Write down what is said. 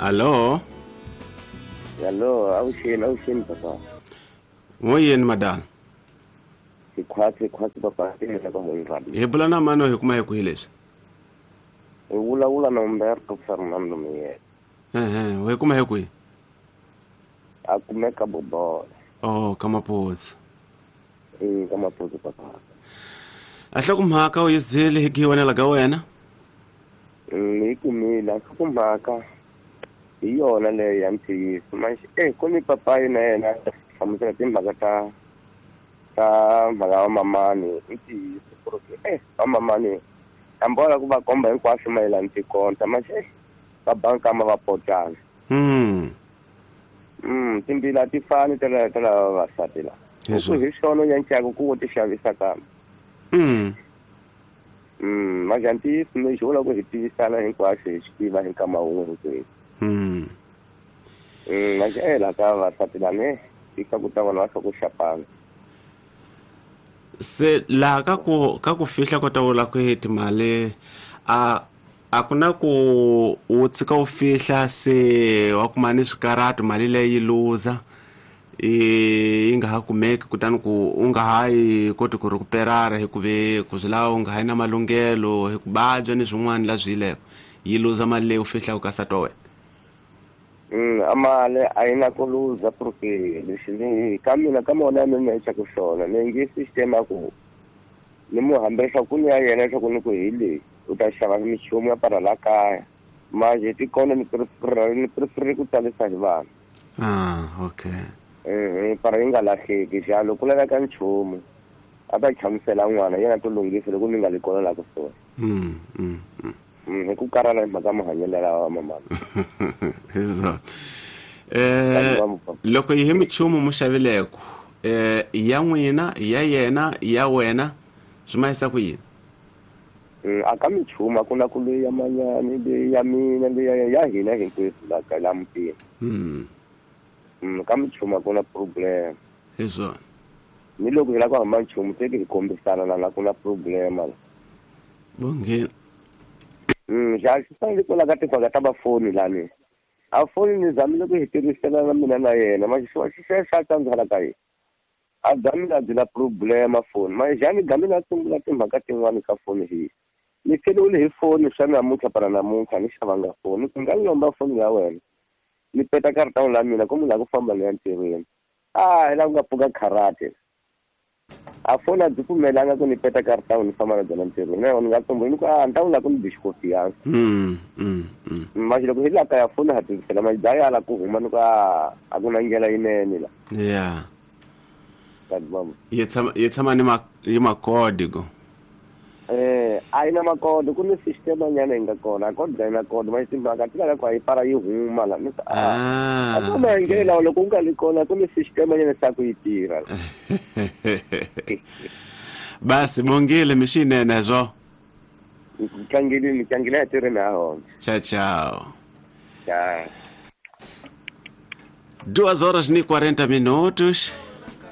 Allo? Allo, avuxeni papa. N'woyeni madala. Sikhwatsi papa tirhela ka Moyirali. Hi bula na mani hi kuma hi kwihi leswi? Hi vulavula na Umberto Fernando Miyela. Ehe, hi kuma hi kwihi? A kumeka Bobola. Oh, ka Maputsu. Ka Maputsu papa. A hlokomhaka u yi zile hi giwanela ka wena? Ni kumile a hlokomhaka hi yona leyo ya ntiyiso. Manje ku ni papayi na yena hlamusela timhaka ta mhaka wa mamani i ntiyiso ku ri va mamani hambi ku va komba hinkwaswo mayelana tikonta manje va banka ma va potana. Timbila a ti fani ta lava vavasati la. Ku hi swona ya ncaku ku wo ti xavisa kambe. Manje ntiyiso lexi vula ku hi tivisana hinkwaswo hi swi tiva hi nkama wun'we hinkwenu. Manje la ka vavasati lani i ka ku ta vona va swa ku xapana. Se laha ka ku fihla ko ta vula ku timali a ku na ku u tshika u fihla se wa kuma ni swikarhato mali leyi luza yi nga ha kumeki kutani ku u nga ha yi koti ku recuperara hi ku ve ku swi lava u nga ha yi na malunghelo hi ku vabya ni swin'wana la swi yileko yi luza mali leyi u fihlaka ka nsati wa wena. A mali a yi na ku luza porque lexi ni ka mina ka mona ya mina ku swona ni nge system ya ku ni mu hambesa ku ni ya yena leswaku ni ku hi leyi u ta xava minchumu ya para la kaya manje tikona ni prefer ku talisa hi vanhu. Okay. Para yi nga lahleki xalo ku laveka nchumu a ta chamusela n'wana yena to lunghisa loko ni nga li kona la kusuhi. Hi ku karhala hi mhaka mahanyelo lawa mamani. Hi loko hi minchumu mu xavileko ya n'wina ya yena ya wena swi ma yisa ku yini? A ka minchumu a ku na ku leyi ya manyani leyi ya mina leyi ya hina hinkwenu la ka la mutini. Ka minchumu a ku na problem. Hi swona. Ni loko hi lava ku hamba nchumu se hi kombisana la ku na problem la. Bongile. Xa xi fanele ku lava timhaka ta vafoni lani. A foni ni zamile ku hi tirhisela na mina na yena manje xi xa tsandzela ka yena. A zamile a byela problema foni manje xani gamile a sungula timhaka tin'wani ka foni hi. Ni feliwile hi foni swa namuntlha para namuntlha ni xavanga foni ku nga lomba foni ya wena. Ni peta karata la mina ku munhu la ku famba ni ya ntirhweni. Hi la ku nga pfuka karate. A foni a byi pfumelanga ku ni peta karata ni famba na byona ntirhweni. Na ni nga tsumbuli ni ku ni ta vula ku ni bi xikofiyansa. Manje loko hi la kaya foni ha tirhisela manje bya yala ku huma ni ku a ku na ndlela yinene la. Yeah. Yi tshama ni makodi go. A yi na makodi ku ni system nyana yi nga kona a kodi yi na kodi manje timhaka ti lava ku a yi para yi huma la. A ku maendlelo loko u nga li kona ku ni system nyana sa ku yi tirha. Basi bongile mixinene zwo. Tlangile ya tirheni ha hona. Tchau tchau. Tchau. 2h40.